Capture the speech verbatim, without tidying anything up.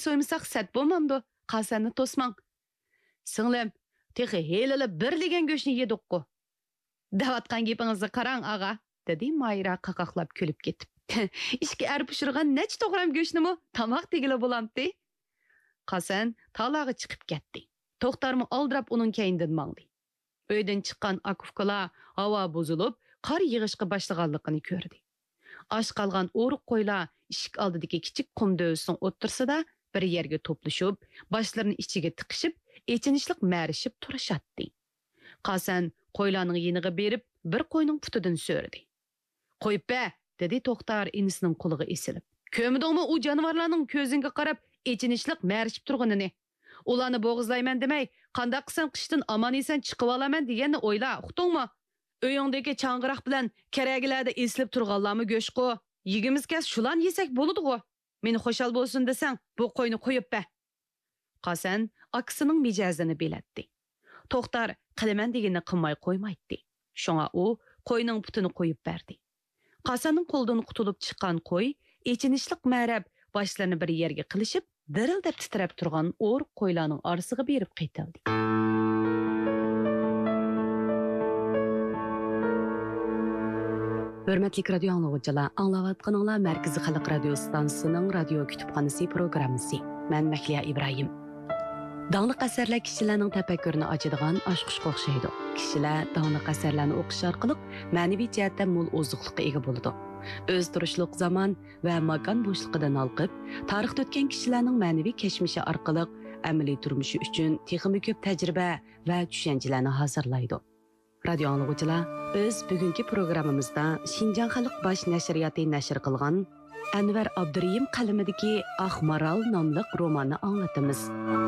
سويمىساق سەت بولمامدۇ؟ قاسەننى توسماڭ. سىڭلىم، تېخى ھېلىلا بىر لېگەن گۆشنى يېدۇققۇ. دەۋاتقان گېپىڭىزنى قاراڭ، ئاغا، دېدى ماھىرە قاقاقلاپ كۈلۈپ كېتىپ. ئىككى ئەر پىشۇرغان نەچچە توغرام گۆشنىمۇ تاماق دېگىلى بولامتى؟ قاسەن تالاغا چىقىپ كەتتى. توختارمۇ ئالدىراپ ئۇنىڭ كەينىدىن ماڭدى. ئۆيدىن چىققان ئاكا-ئۇكىلار ھاۋا بۇزۇلۇپ، قار يېغىشقا باشلىغانلىقىنى كۆردى. ئاچ قالغان ئورۇق قويلار ئىشىك ئالدىدىكى كىچىك قۇم دۆۋىسىنىڭ ئوتتۇرىسىدا بىر يەرگە توپلىشىپ، باشلىرىنى ئىچىگە تىقىشىپ، ئېچىنىشلىق مەرىشىپ تۇرۇشاتتى. قاسەن قويلارنىڭ يېنىغا بېرىپ، بىر قوينىڭ پۇتىدىن سۆرىدى. «قويۇپ بەر!» دېدى توختار ئىنىسىنىڭ قولىغا ئېسىلىپ. «كۆرمىدىڭمۇ ئۇ جانىۋارلارنىڭ كۆزۈڭگە قاراپ ئېچىنىشلىق مەرىشىپ تۇرغىنىنى؟ ئۇلارنى بوغۇزلايمەن دېمەي، قانداق قىلسام قىشتىن ئامان-ئېسەن چىقىۋالىمەن دېگەننى ئويلا، ئۇقتۇڭمۇ؟ ئۆيۈڭدىكى چاڭغىراق بىلەن كەرەگىلەردە ئېسىلىپ تۇرغانلارمۇ گۆشقۇ. يېگۈمىز كەلسە شۇلارنى يېسەك بولىدىغۇ. مېنى خۇشال بولسۇن دېسەڭ، بۇ قوينى قويۇپ بەر.» قاسەن ئاكىسىنىڭ مىجەزىنى بىلەتتى. توختار قىلىمەن دېگىنىنى قىلماي قويمايتتى. شۇڭا ئۇ قوينىڭ پۇتىنى قويۇپ بەردى. قاسەننىڭ قولىدىن قۇتۇلۇپ چىققان قوي ئېچىنىشلىق مەرەپ باشلىرىنى بىر يەرگە قىلىشىپ، دىرىلدەپ تىترەپ تۇرغان ئورۇق قويلارنىڭ ئارىسىغا بېرىپ قېتىلدى. ھۆرمەتلىك رادىيو ئاڭلىغۇچىلار، ئاڭلاۋاتقىنىڭلار مەركىزىي خەلق رادىيو ئىستانسىسىنىڭ رادىيو كۇتۇپخانىسى پروگراممىسى. مەن مەھلىيا ئىبراھىم. داڭلىق ئەسەرلەر كىشىلەرنىڭ تەپەككۇرىنى ئاچىدىغان ئاچقۇچقا ئوخشايدۇ. كىشىلەر داڭلىق ئەسەرلەرنى ئوقۇش ئارقىلىق مەنىۋى جەھەتتە مول ئوزۇقلۇققا ئىگە بولىدۇ. ئۆزى تۇرۇشلۇق زامان ۋە ماكان بوشلۇقىدىن ھالقىپ، تارىختا ئۆتكەن كىشىلەرنىڭ مەنىۋى كەچمىشى ئارقىلىق ئەمەلىي تۇرمۇشى ئۈچۈن تېخىمۇ كۆپ تەجرىبە ۋە چۈشەنچىلەرنى ھازىرلايدۇ. رادىيو ئاڭلىغۇچىلار، بىز بۈگۈنكى پروگراممىمىزدا شىنجاڭ خەلق باش نەشرىياتى نەشر قىلغان ئەنۋەر ئابدۇرېھىم قەلىمىدىكى ئاق مارال ناملىق روماننى ئاڭلىتىمىز.